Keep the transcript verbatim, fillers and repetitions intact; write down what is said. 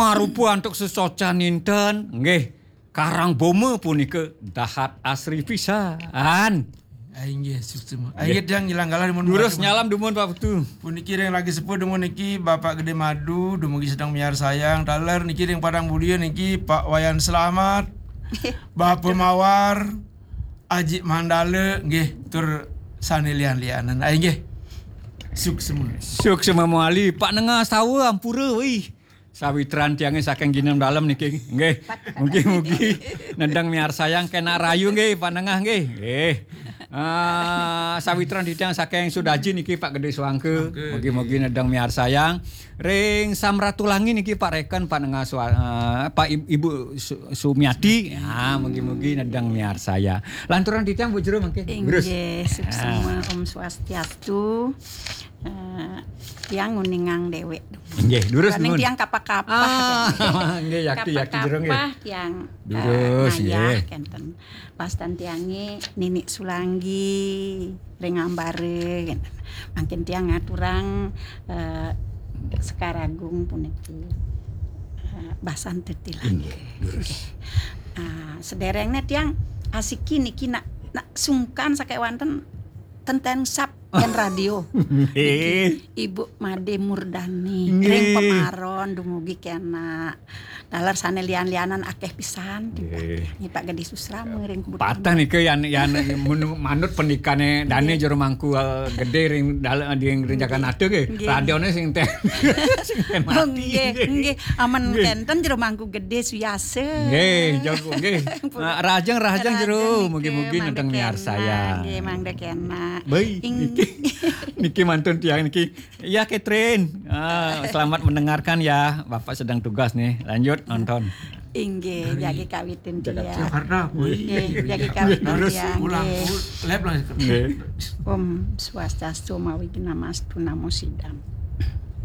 Marupa antuk sesocan inten, nggih. Karang Boma punika dahat asri pisan. Ah, inggih, suksma. Ah, inggih, tiang ngilang galah dumun Durus Bapak. Nyalam dumun Pak Putu. Puniki ring lagi sepuh dumun niki Bapak Gede Madu, dumugi sedeng miarsayang. Taler niki ring Padang Bulia niki Pak Wayan Selamat, Bapak Mawar, Aji Mandala, nggih, tur sane lian-lianan. Ah, inggih. Suksma. Suksma mawali, Pak Nengah Sawa ampura, wih. Sawitran tiange saking Ginem Dalem niki. Nggih. Mugi-mugi nedeng miarsayang kenak rayu nggih, Pak Nengah nggih. Nggih. Ah, sawitran titiang saking Sudaji niki Pak Gede Suangke. Mugi-mugi nedeng miarsayang. Ring Samratulangi niki Pak Reken, Pak Nengah Sua-, ah, Pak Ib-, Ibu Su-, Sumiati. Ah, mugi-mugi nedeng miarsayang. Lanturan titiang Bu Jero mangke. Durus. Inggih, suksma, Om Swastiastu. Eh, tiang nguningang dewek. Nggih, durus nuwun. Tiang kapah-kapah. Ah, nggih, yaki, yaki jero nggih. Kapah-kapah tiang, eh, durus, ngayah nggih. Kenten. Pastan tiange Nini Sulanggi, ring Ambare, kenten. Mangkin tiang ngaturang, eh, Sekar Agung puniki, eh, Basan Tetilang. Nggih, durus. Nggih. Ah, sederengne tiang asiki niki nak, nak sungkan sakewanten tenten sap yen radio. Nggih. Ibu Made Murdani. Nggih. Ring Pemaron dumugi kena. Taler sane lian-lianan akeh pisan. Nggih. Nggih, Pak Gede Susrama ring Kebutuhan. Patah nika yan, yan menu-, manut pendikane dane Jero Mangku, eh, Gede ring dal-, ring, ring Jaganata nggih. Nggih. Radione sing ten. Sing ten mati. Oh, nggih, nggih. Amen kenten Jero Mangku Gede suyasa. Nggih, jago nggih. Ah, rahajeng, rahajeng Jero, mugi-mugi nenten miarsayang. Nggih, mangda kena. Baik. Niki, niki mantun tiang niki. Ya, Catherine. Ah, selamat mendengarkan ya. Bapak sedang tugas nih. Lanjut nonton. Inggih, jagi kawitin tiang. Jakarta. Inggih, jagi kawitin tiang. Ulang, nggih. Lep lah. Nggih. Om Swastiastu, mawi namastu, namo sidam.